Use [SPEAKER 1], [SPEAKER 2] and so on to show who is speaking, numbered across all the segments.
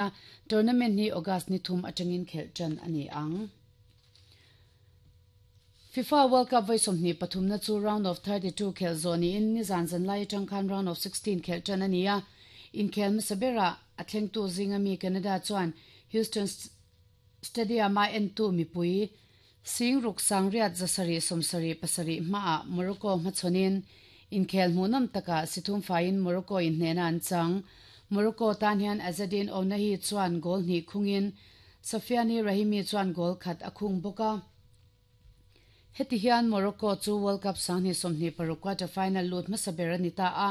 [SPEAKER 1] A, tournament hi August ni thum atangin khelh tan a ni ang. FIFA World Cup vawi 23 na chu round of 32 khelh zawh niin nizan zanlai atang khan round of 16 khelh tan a ni a. Inkhel hmasa berah a thlengtu zinga mi Canada chuan Houston Stadium-a entu mipui sing ruk sangriat 777 hmaah Morocco hmachhawnin inkhel hmuhnawm takah si thum faiin Morocco inhnehna an chang. Morocco tan hian Azzedine Ounahi chuan goal hnih khungin Sofiane Rahimi chuan goal khat a khung bawk a. Heti hian Morocco chu World Cup 2026 quarter final lut hmasa ber a ni ta a,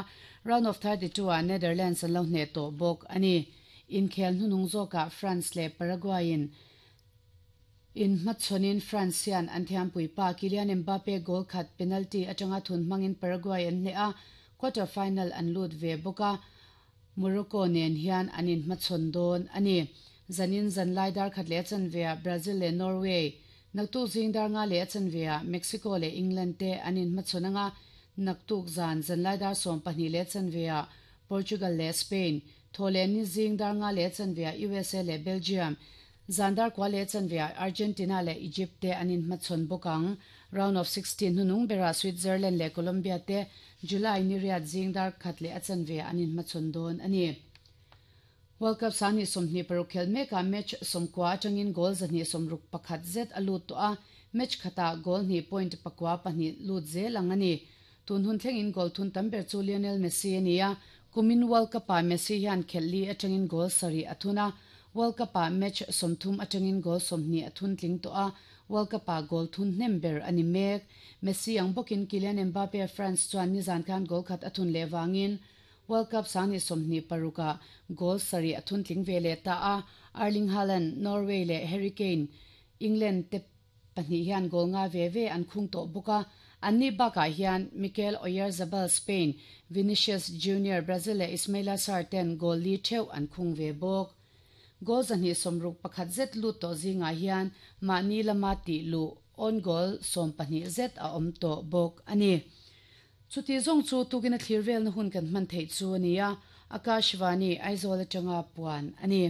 [SPEAKER 1] round of 32 ah Netherlands an lo hneh tawh bawk a ni. Inkhel hnuhnung zawkah France leh Paraguay in inhmachhawnin France hian an thiampui pa Kylian Mbappe goal khat penalty atanga thun hmangin Paraguay an hneh a, quarter final an lut ve bawk a. Morocco nen hian an inhmachhawn dawn a ni. Zanin zanlai dar khat leh a chanveah Brazil leh Norway, naktuk zing dar nga leh a chanveah Mexico leh England te an inhmachhawn anga, naktuk zan zanlai dar 12 leh a chanveah Portugal leh Spain, thaw leh ni zing dar nga leh a chanveah usa leh Belgium, zan dar kua leh a chanveah Argentina leh Egypt te an inhmachhawn bawk ang. Round of 16 hnunung berah Switzerland leh Colombia te July ni riat zing dar khat leh a chanveah an inhmachhawn dawn a ni. World Cup 2026 khelh mekah match 90 atangin goal 261 zet a lut tawh a, match khatah goal hnih point pakua pahnih lut zel ang a ni. Tun hun thlengin goal thun tam ber chu Lionel Messi a ni a, kumin World Cup-ah Messi hian khelh li atangin goal sarih a thun a, World Cup-ah match 30 atangin goal 20 a thun tling tawh a, World Cup-ah goal thun hnem ber a ni mek. Messi ang bawkin Kylian Mbappe France chuan nizan khan goal khat a thun leh vangin World Cup 2026-ah goal sarih a thun tling ve leh ta a, Erling Haaland, Norway, leh Harry Kane, England, te pahnih hian goal nga ve ve an khung tawh bawk a. Anni bakah hian Mikel Oyarzabal, Spain, Vinicius Junior, Brazil, leh Ismaila Sarr ten goal li theuh an khung ve bawk. Goal 261 zet lut tawh zingah hian mahni lama tih luh own goal 12 zet a awm tawh bawk a ni. Chuti zawng chu tukin a thlir velna hun kan hman theih chu a ni a, Akashvani, Aizawl atanga puan a ni.